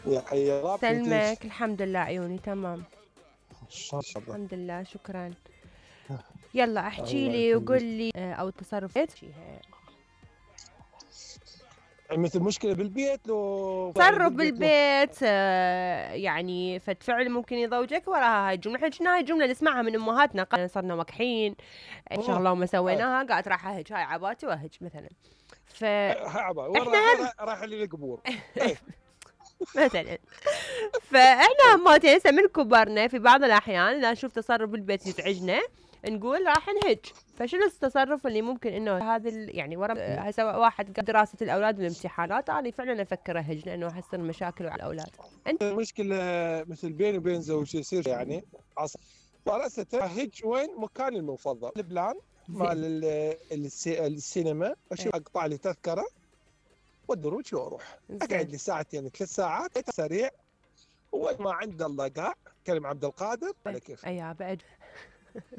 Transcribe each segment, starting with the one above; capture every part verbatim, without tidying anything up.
يا حي الله. سلمك، الحمد لله عيوني تمام. شاء الله. الحمد لله شكرا. يلا احكي الله لي وقول يخليك. لي او التصرفات فيها. مثل مشكلة بالبيت لو تصرف بالبيت لو بالبيت آه، يعني فد فعل ممكن يضوجك وراها هاي الجمله. احنا شفنا هاي الجمله نسمعها من امهاتنا، قا- صرنا وكحين شغله وما سويناها قالت راح اهج، هاي عباتي واهج مثلا. ف هاي عبا وين احنا رايح؟ هم رايح للقبور. إيه. مثلا. فاحنا همات هسه من كبرنا في بعض الاحيان اذا نشوف تصرف بالبيت يزعجنا نقول راح نهج. فشنو التصرف اللي ممكن انه هذا ال- يعني ورا هسه واحد قال دراسه الاولاد والامتحانات، انا فعلا افكر اهج لانه حصل مشاكل على الاولاد. انت المشكلة مثل بيني وبين زوجتي يصير يعني عص فرأسة هج وين مكاني المفضل البلان مال زين ال- السي- السينما، اشوف ايه اقطع لي تذكرة والدروج واروح اقعد زين لي ساعتين ثلاث ساعات سريع، وين ما عند الله قاع كلم عبد القادر على كيف. ايوه بعد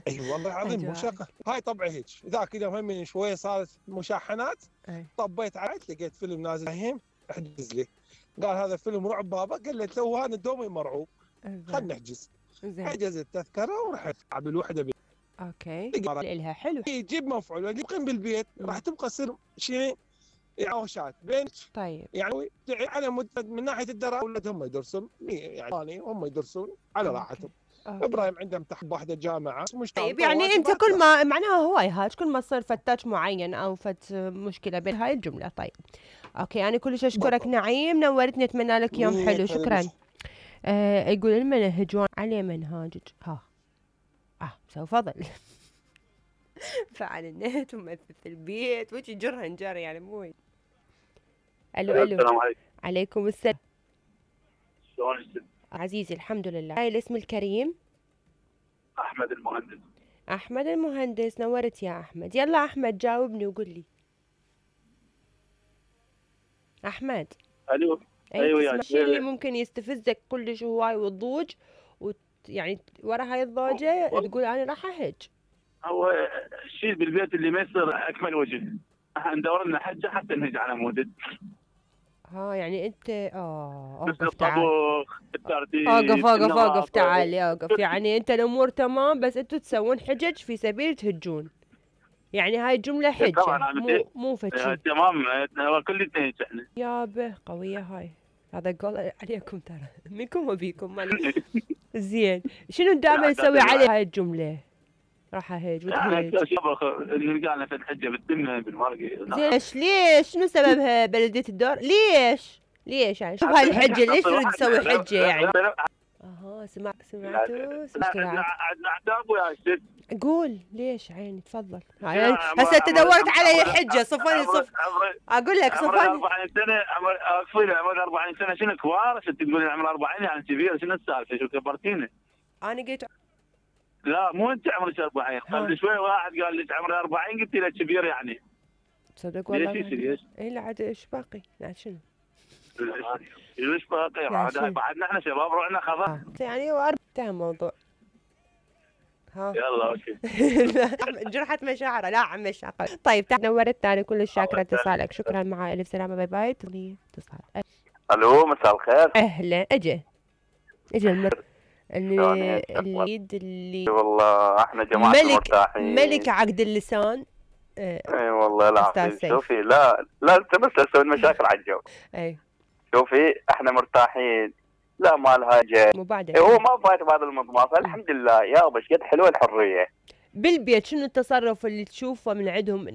اي والله العظيم مو اجواء. شقه. هاي طبعي هيك. ذاك اليوم هم من شويه صارت مشاحنات، اي طبيت عاد لقيت فيلم نازل هم احجز لي. قال هذا فيلم رعب بابا، قال له تو انا دومي مرعوب خلنا زين نحجز. زين حجز التذكره ورحت على الوحده بي. اوكي لها حلو. يجيب مفعول يقيم بالبيت راح تبقى تصير شيء عوشات بين طيب يعني على مدة من ناحيه الدراسه اولادهم يدرسون يعني هم يدرسون على اوكي راحتهم. اوكي ابراهيم عنده امتحان بواحده جامعه مش طيب يعني انت واجبات كل لا. ما معناها هواي هاج كل ما تصير فتاش معين او فت مشكله بين هاي الجمله. طيب اوكي انا كلش اشكرك بالضبط. نعيم، نورتني، اتمنى لك يوم مية حلو. خليل. شكرا. آه يقول المنهجون عليه منهاجج ها اه سوف فضل فعل النت ومثل البيت وجي جرها نجار يعني مو وين. الو الو السلام عليكم. عليكم السلام شلون اسمك؟ عزيزي الحمد لله. هاي الاسم الكريم احمد المهندس. احمد المهندس، نورت يا احمد. يلا احمد جاوبني وقول لي. احمد الو اي ايوه تسمع يا الشيء اللي شيخ. ممكن يستفزك كلش هواي والضوج وت... يعني ورا هاي الضوجة تقول انا راح اهج. هو الشيء بالبيت اللي ما يصير اكمل وجه، ندور لنا حجه حتى نهج على مودد. ها يعني انت اه مثل اوقف تعال. الطبخ، الترتيب، اوقف اوقف اوقف النظافه. تعال اوقف. يعني انت الامور تمام بس انتوا تسوون حجج في سبيل تهجون. يعني هاي الجملة حجة طبعا انا مو مو فتشي. تمام. هو كل نهج احنا. يابه قوية هاي. هذا قول عليكم ترى منكم وبيكم مالك. زين شنو دائما تسوي عليه هاي الجملة؟ راح اهج يعني وتهج. طبخ نلقى لنا في الحجه بالتمه بالمرقه. زين ليش ليش شنو سببها بلدية الدور؟ ليش؟ ليش يعني شوف هاي الحجة ليش تريد تسوي حجة يعني؟ اها سمع سمعتوا مشكلة. عندنا عتاب ويا شيخ. قول ليش عيني تفضل. يعني هسه انت دورت علي حجة صفني صف. اقول لك عمري صفني. أربعين سنة. عمر اقصي عمري أربعين سنة شنو كبار؟ عشان تقولين عمري أربعين يعني كبير، شنو السالفة؟ شو كبرتيني؟ انا قلت لا مو انت عمرك أربعين، قبل شوي واحد قال لي عمري أربعين قلت له كبير يعني. تصدق والله ليش يصير ليش؟ اي لا عاد ايش باقي؟ لا شنو؟ ليش باقي؟ بعد بعدنا احنا شباب روحنا خضر. آه. يعني هو أربع انتهى الموضوع. ها يلا اوكي. جرحت مشاعره لا عم مشاعر. طيب تعال نورتنا، انا كلش شاكره اتصالك. شكرا مع الف سلامه باي باي. تغني اتصال. الو مساء الخير. اهلا اجا اجا المر شلونك؟ اللي اليد اللي والله احنا جماعة ملك مرتاحين. ملك عقد اللسان. آه، اي والله أستاذ العظيم. سيف. شوفي لا لا انت بس تسوي مشاكل على الجو. اي شوفي احنا مرتاحين، لا مالها جاي. مو بعد إيه هو ما فايت بهذا المضمار، فالحمد لله يا بس قد حلوه الحريه. بالبيت شنو التصرف اللي تشوفه من عندهم